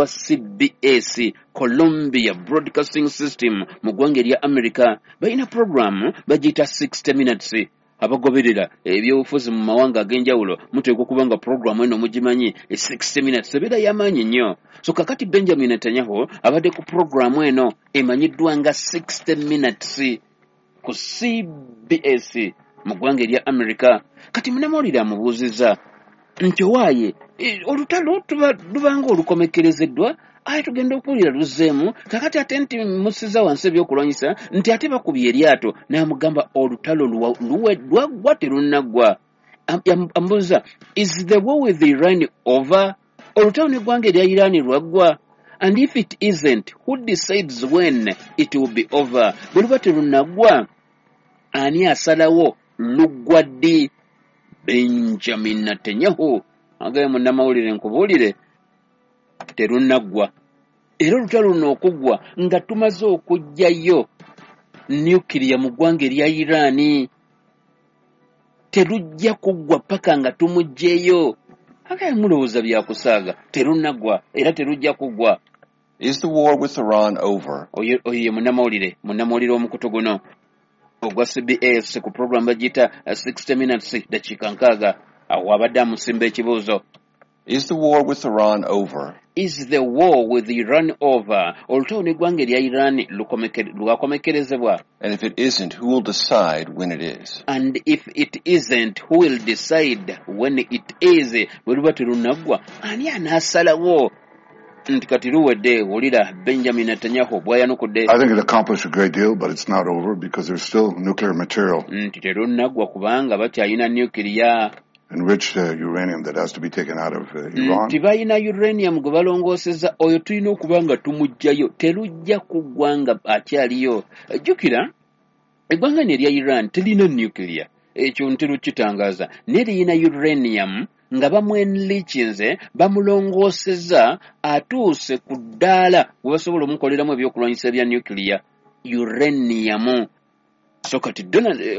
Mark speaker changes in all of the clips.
Speaker 1: ogwa CBS, Columbia Broadcasting System, mu ggwanga erya America. Balina puroguramu bagiyita 60 Minutes. Abagoberera ebyobufuzi mu mawanga ag'enjawulo muteekwa okuba nga puroguramu eno mugimanyi, 60 Minutes ebeera y'amaanyi nnyo. So kakati Benjamin Netanyahu abadde ku puroguramu eno emanyiddwa nga 60 Minutes ku CBS mu ggwanga erya America. Kati munnamawulire amubuuzizza nti owaaye, olutalo lubanga olukomekkerezeddwa, aye tugenda okuwulira luzzeemu kakati ate nti musiza wansi ebyokulwanyisa, nti ate bakubye eryato. N'amugamba olutalo lwaggwa terunnaggwa. Amubuuza, "Is the war with Iran over?" Olutalo n'eggwanga erya Iran lwaggwa? "And if it isn't, who decides when it will be over?" Bwe luba terunnaggwa, ani asalawo luggwa ddi? Benjamin Netanyahu agaye, "Munnamawulire, nkubuulire, terunnaggwa, era olutalo luno okuggwa nga tumaze okuggyayo nukiriya mu ggwanga erya Iraani. Terujja kuggwa paka nga tumuggyeyo." Agaye, "Mulowooza byakusaaga, terunnaggwa era terujja kuggwa."
Speaker 2: Is the war with Iran over?
Speaker 1: Oyo ye munnamawulire w'omukutu guno ogwa CBS ku program bagiyita 60 Minutes, dakiika 60. Awo abadde amusimba ekibuuzo.
Speaker 2: Is the war with Iran over?
Speaker 1: Is the war with Iran over? Olutalo n'eggwanga erya Iran lwakomekkerezebwa?
Speaker 2: And if it isn't, who will decide when it is?
Speaker 1: And if it isn't, who will decide when it is? Bwe luba terunaggwa, ani anaasalawo nti kati luwedde? Wulira Benjamin Netanyahu bw'ayanukudde.
Speaker 3: I think it accomplished a great deal, but it's not over because there's still nuclear material,
Speaker 1: Nti terunaggwa kubanga bakyalina nukiriya,
Speaker 3: enriched uranium that has to be taken out of Iran.
Speaker 1: Nti balina uranium gwe balongooseza, oyo tulina okuba nga tumuggyayo. Terujja kuggwa nga akyaliyo. Jjukira eggwanga lino erya Iran terina nuclear, ekyo nterukitangaaza, naye lirina uranium nga bamwenrichinze, bamulongooseza, atuuse ku ddaala we basobola omukoleramu ebyokulwanyisa ebya nuclear uranium. So kati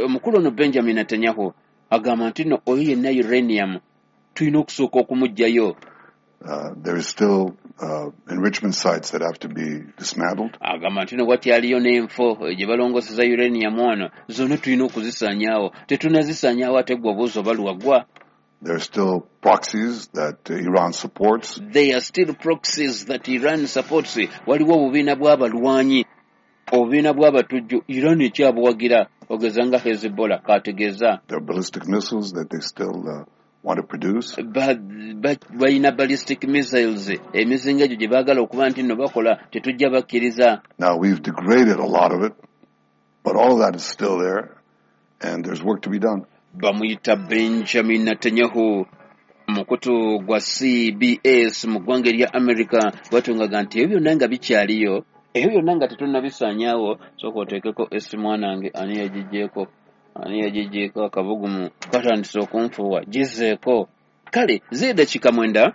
Speaker 1: omukulu ono Benjamin Netanyahu agamba nti no, oyo yenna uranium tulina okusooka okumuggyayo.
Speaker 3: There is still enrichment sites that have to be dismantled.
Speaker 1: Agamba nti no, wakyaliyo n'enfo gye balongooseza uranium ono, zonna tulina okuzisaanyaawo. Tetunazisaanyaawo, ate gwe obuuzi oba lwaggwa.
Speaker 3: There are still proxies that Iran supports.
Speaker 1: There are still proxies that Iran supports. Waliwo obubiina bw'abalwanyi, obubiina bw'abatujju, Iran ekyabuwagira, ogeza nga Hezbollah kategeeza.
Speaker 3: There are ballistic missiles that they still want to produce.
Speaker 1: Balina ballistic missiles, emizinga egyo gye baagala okuba nti nno bakola, tetujja bakkiriza.
Speaker 3: Now, we've degraded a lot of it, but all of that is still there, and there's work to be done.
Speaker 1: Bamuyita Benjamin Netanyahu, mukutu gwa CBS mu ggwanga erya America. Bwatungaga nti ebyo byonna nga bikyaliyo, ebyo byonna nga tetunnabisaanyaawo. Sooka oteekeko esi, mwanange. Ani yagiggyeko? Ani yagiggyeko? Akabugumu katandise okunfuuwa, gizeeko. Kale ziri dakiika 9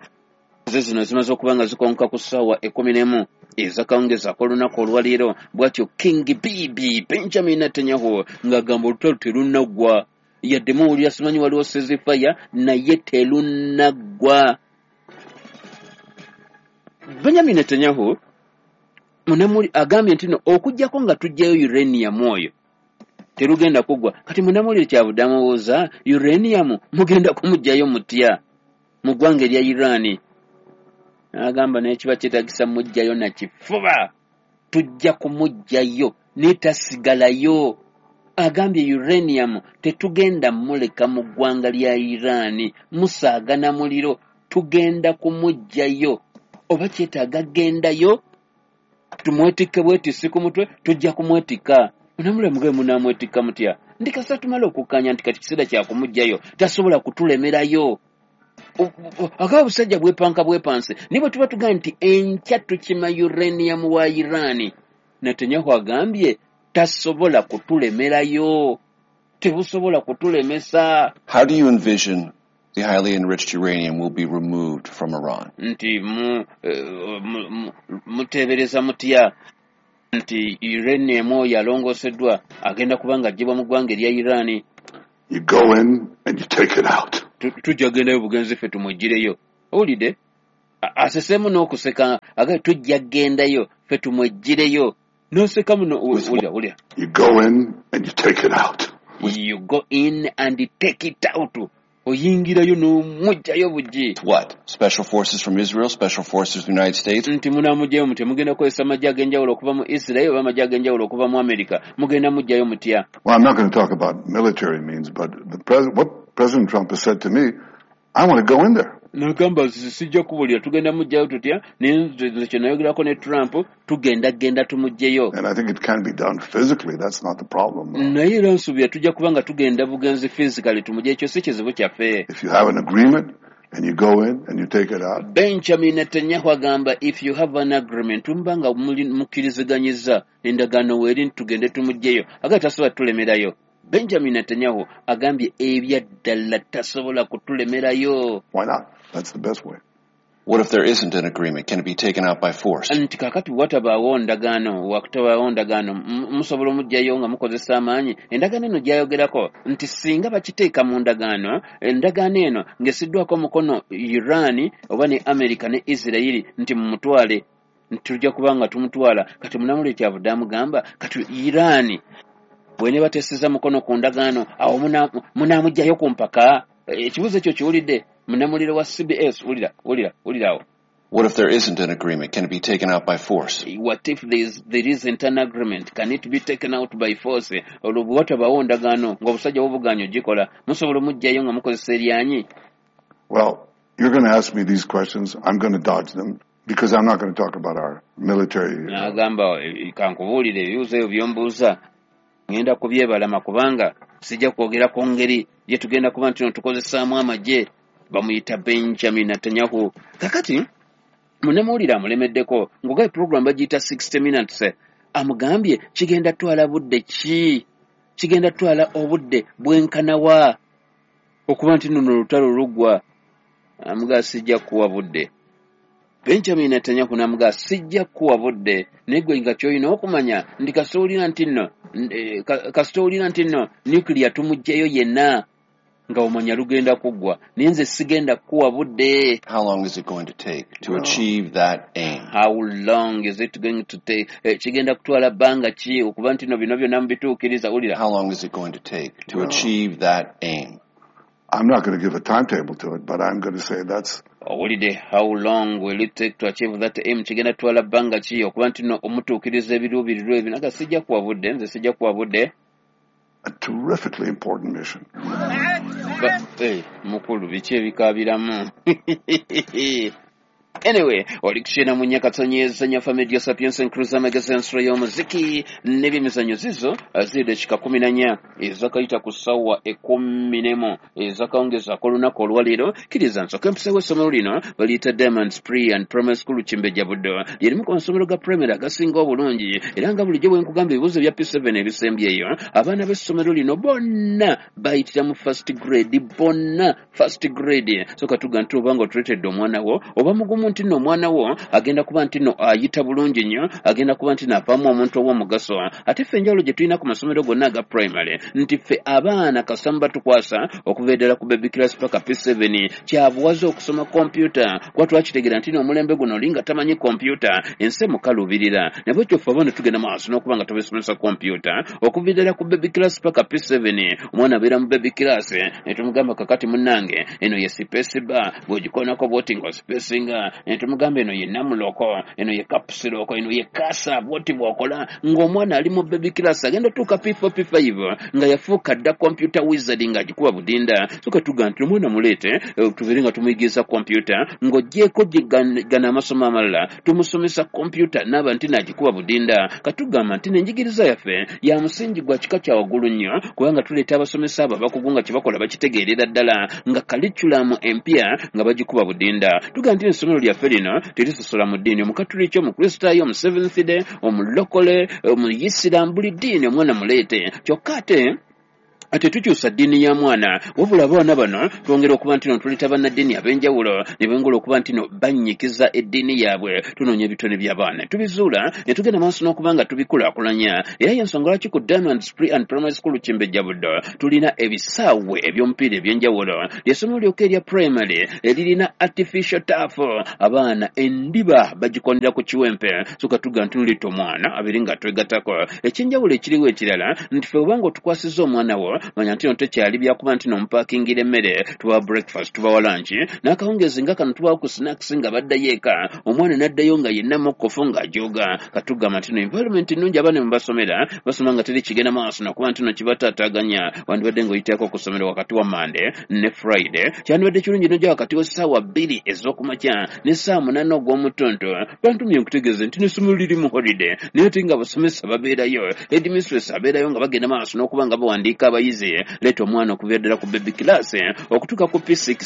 Speaker 1: ze zino zimaze okuba nga zikonka ku ssaawa 11 ezakawungezi ak'olunaku olwaleero. Bw'atyo King Bibi Benjamin Netanyahu ng'agamba olutalo terunnaggwa, yadde muwulira simanyi waliwo ceasefire, naye terunnaggwa. Benjamin Netanyahu munamuli agambye nti no, okuggyako nga tuggyayo uranium oyo, terugenda kuggwa. Kati munamulire kyabudde amubuuza, uranium mugenda kumuggyayo mutya mu ggwanga erya Iraani? N'agamba naye kiba kyetagisa muggyayo na kifuba, tujja kumuggyayo, naye tasigalayo. Agambye uranium tetugenda muleka mu ggwanga lya Iraani, musaaga na muliro, tugenda kumuggyayo. Oba kyetaaga gendayo tumwetikke bwetisi ku mutwe, tujja kumwetikka. Munamule mugabe, munaamwetikka mutya? Ndi kasita tumala okukkanya nti kati kiseera kya kumuggyayo, tasobola kutulemerayo. Akaba busajja bwepanka bwepanse, naye bwe tuba tugamba nti enkya tukima uranium wa Iraani, Netanyahu agambye tasobola kutulemerayo, tebusobola kutulemesa.
Speaker 2: How do you envision the highly enriched uranium will be removed from Iran?
Speaker 1: Nti muteebereza mutya nti uranium oyo alongooseddwa agenda kuba nga aggyibwa mu ggwanga erya Iraani?
Speaker 3: You go in and you take it out.
Speaker 1: Tujja gendayo bugenzi ffe tumuggireyo. Owulidde? Aseseemu n'okuseka, aga tujja kgendayo ffe tumweggireyo, n'oseka muno. Wulira, wulira.
Speaker 3: You go in and you take it out.
Speaker 1: You go in and take it out, oyingirayo n'omugjayo bugi.
Speaker 2: What? Special forces from Israel, special forces from the United States?
Speaker 1: Nti munaamugjayo mutya? Mugenda kukozesa amagye ag'enjawulo okuva mu Israel oba amagye ag'enjawulo okuva mu America? Mugenda mugjayo mutya?
Speaker 3: Well, I'm not going to talk about military means, but what President Trump has said to me, I want to go in there.
Speaker 1: Nagamba sijja kubulira tugenda mugjayo tutya, naye nze kye nayogerako ne Trump, tugenda genda tumuggyeyo.
Speaker 3: And I think it can be done physically. That's not the problem.
Speaker 1: Naye era nsuubira tujja kuba nga tugenda bugenzi physically tumugye, ekyo si kizibu kyaffe.
Speaker 3: If you have an agreement and you go in and you take it out,
Speaker 1: Benjamin Netanyahu agamba if you have an agreement, muba nga mukkiriziganyizza endagaano weeri nti tugende tumuggyeyo, aga tasobola tulemerayo. Benjamin Netanyahu agambye ebyaddala tasobola kutulemerayo.
Speaker 3: Why not? That's the best way.
Speaker 2: What if there isn't an agreement? Can it be taken out by force?
Speaker 1: Nti kaakati watabaawo ndagaano, wakutabaawo ndagaano, musobola omuggyayo nga mukozesa amaanyi? Endagaano eno gy'ayogerako nti singa bakiteeka mu ndagaano, endagaano eno ng'essiddwako omukono Iran oba ne America ne Israeli, nti mumutwale, nti tujja kuba nga tumutwala. Kati munamulire kyavudde amugamba kati Iran bwe bateseza mukono ku ndagaano, awo munaamuggyayo ku mpaka? Ekibuuzo ekyo kiwulidde munamulire wa CBS. Wulira, wulira, wulira awo.
Speaker 2: What if there isn't an agreement? Can it be taken out by force?
Speaker 1: What if there isn't an agreement? Can it be taken out by force? Olwo bwe watabaawo ndagaano ng'obusajja bubugaanyi ogikola, musobola omuggyayo nga mukozesa eryanyi?
Speaker 3: Well, you're going to ask me these questions. I'm going to dodge them because I'm not going to talk about our military.
Speaker 1: N'agamba kankubuulire, ebibuuzo ebyo by'ombuuza ngenda kubyebalama kubanga sijja kwogera ku ngeri gye tugenda kuba nti no tukozesaamu amagye. Bamuyita Benjamin Netanyahu. Kakati munnamawulire amulemeddeko ng'ogaye program bagiyita 60 Minutes, amugambye kigenda twala budde ki, kigenda twala obudde bwenkanawa okuba nti nno olutalo luggwa? Amugaa sijja kuwa budde. Benjamin Netanyahu n'amugaa sijja kuwa budde, naye gwe nga ky'olina okumanya nti kasita owulira nti nno nuclear tumuggyeyo yenna, nga omanya lugenda kuggwa, naye nze sigenda kukuwa budde.
Speaker 2: How long is it going to take to achieve that aim?
Speaker 1: How long is it going to take? Kigenda kutwala bbanga ki okuba nti no bino byonna mubituukiriza? Wulira.
Speaker 2: How long is it going to take to achieve that aim?
Speaker 3: I'm not going to give a timetable to it, but I'm going to say that's
Speaker 1: Owulidde, how long will it take to achieve that aim? Kigenda kutwala bbanga ki okuba nti no omutuukiriza ebiruubirirwa ebyo? Naga sijja kuwa budde, nze sijja kuwa budde.
Speaker 3: a terrifically important mission.
Speaker 1: Mukulu biki ebikaabiramu? Anyway, oli kukyena mu Nyakatonyeeza Nyafa Media Sapiens Cruiser Magazine, ensolo y'omuziki n'ebyemizannyo. Zizo ziri dakika 14 ezakayita ku ssaawa 11 ezakawungezaako olunaku olwaleero. Kkiriza nsooke empisewo essomero lino baliyita Diamonds Pre and Primary School Kimbejja Buddo. Lyerimu ku masomero ga primary agasinga obulungi, era nga bulijjo bwe nkugamba, ebibuuzo bya P7 ebisembyeyo, abaana b'essomero lino bonna bayitira mu first grade, bonna first grade. So katuga nti oba nga otuleetedde omwana wo, oba mugumu nti nno omwana wo agenda kuba nti nno ayita bulungi nnyo, agenda kuba nti nno avaamu omuntu ow'omugaso. Ate ffe enjawulo gye tulina ku masomero gonna aga primary nti ffe abaana kasita muba tukwasa okuva eddala ku baby class paka P7, kyabuwaze okusoma kompyuta, kuba twakitegeera nti nno omulembe guno oli nga tamanyi kompyuta ensi emukaluubirira. Naye ffe abaana tugenda maaso n'okuba nga tubasomesa kompyuta okuva eddala ku baby class paka P7. Omwana abeera mu baby class ne tumugamba, kakati munnange eno ye space bar, bw'ogikonako bw'oti ng'ospacinga, ne tumugamba eno ye num lock, eno ye caps lock, eno ye cursor, bw'oti bw'okola, ng'omwana ali mu baby class agenda tuuka P4 P5 nga yafuuka dda computer wizard, ng'agikuba budinda. So katuga nti omwana muleete, tubeere nga tumuyigiriza kompyuta ng'oggyeko gano amasomo amalala, tumusomesa kompyuta n'aba nti n'agikuba budinda. Katugamba nti n'enjigiriza yaffe ya musingi gwa kika kya waggulu nnyo, kubanga tuleeta abasomesa abo abakugu nga kye bakola bakitegeerera ddala, nga curriculum empya nga bagikuba budinda. Tugamba nti essomero lyaffe lino terisosola mu ddiini, Omukatuliki, Omukristaayo, omu Seventh Day, omulokole, omuyisiraamu, buli ddiini omwana muleete. Kyokka ate Tetukyusa ddiini ya mwana, wabula abaana bano twongera okuba nti no tuleeta bannaddiini ab'enjawulo ne bongera okuba nti no bannyikiza eddiini yaabwe. Tunoonya ebitone by'abaana tubizuula ne tugenda maaso n'okuba nga tubikulaakulanya, era y'ensonga lwaki ku Diamonds Pre and Primary School Kimbejja Buddo tulina ebisaawe eby'omupiira eby'enjawulo. Ly'essomero lyokka erya primary eririna artificial turf, abaana endiba bagikondera ku kiwempe. So katuga nti nleeta omwana abeere nga twegattako. Ekyenjawulo ekiriwo ekirala nti ffe obanga otukwasizza omwana wo, manya nti no tekyali byakuba nti nomupaakingira emmere, tubawa breakfast, tubawa lunch, n'akawungeezi nga kano tubawa ku snacks nga baddayo eka, omwana n'addayo nga yenna mukkofu ng'ajooga. Katugamba nti no environment nnungi, abaana mwe basomera basoma nga teri kigenda maaso nakuba nti no kibataataaganya. Wandibadde ng'oyitako ku ssomero wakati wa Monday ne Friday, kyandibadde kirungi nojja wakati w'essaawa 2 ez'okumakya n'essaawa 8 ogw'omutuntu. Bantumye nkutegeeze nti n'essomero liri mu holiday, naye ate nga abasomesa babeerayo, headmistress abeerayo nga bagenda maaso n'okuba nga bawandiika abayizi. Leeta omwana okuviira ddala ku baby class okutuuka ku P6.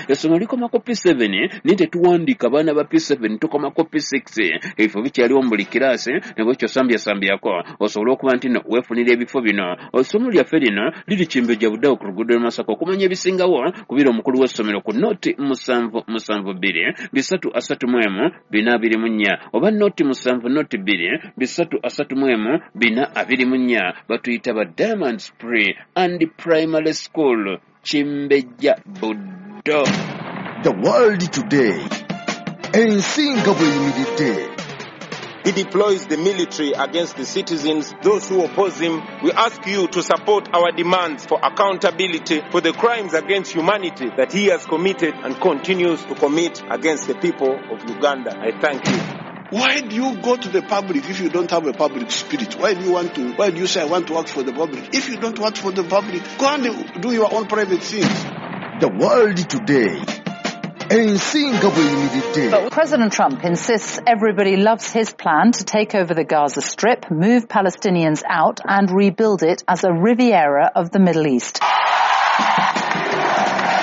Speaker 1: Essomero likoma ku P7, naye tetuwandiika abaana ba P7, tukoma ku P6. Ebifo bikyaliwo mu buli kiraasi, ne bwekyo sambyasambyako osobole okuba nti no weefunira ebifo bino. Essomero lyaffe lino liri Kimbejja Buddo ku luguudo lw'e Masaka. Okumanya ebisingawo kubira omukulu w'essomero ku 0 7 7 2 3 31 4 24 oba 0 7 0 2 3 31 4 24. Batuyita ba Diamonds Pre and Primary School, Kimbejja Buddo.
Speaker 4: The World Today, ensi nga bw'eyimiridde.
Speaker 5: He deploys the military against the citizens, those who oppose him. We ask you to support our demands for accountability for the crimes against humanity that he has committed and continues to commit against the people of Uganda. I thank you.
Speaker 6: Why do you go to the public if you don't have a public spirit? Why do you want to, why do you say I want to work for the public? If you don't work for the public, go and do your own private things.
Speaker 4: The World Today, ensi nga bw'eyimiridde.
Speaker 7: But President Trump insists everybody loves his plan to take over the Gaza Strip, move Palestinians out and rebuild it as a Riviera of the Middle East.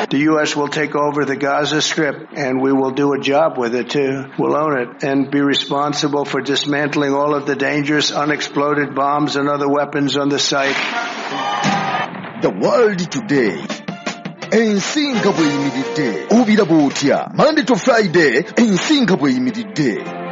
Speaker 8: The U.S. will take over the Gaza Strip and we will do a job with it too. We'll own it and be responsible for dismantling all of the dangerous unexploded bombs and other weapons on the site.
Speaker 4: The World Today, ensi nga bw'eyimiridde, obiraba otya? Monday to Friday, ensi nga bw'eyimiridde.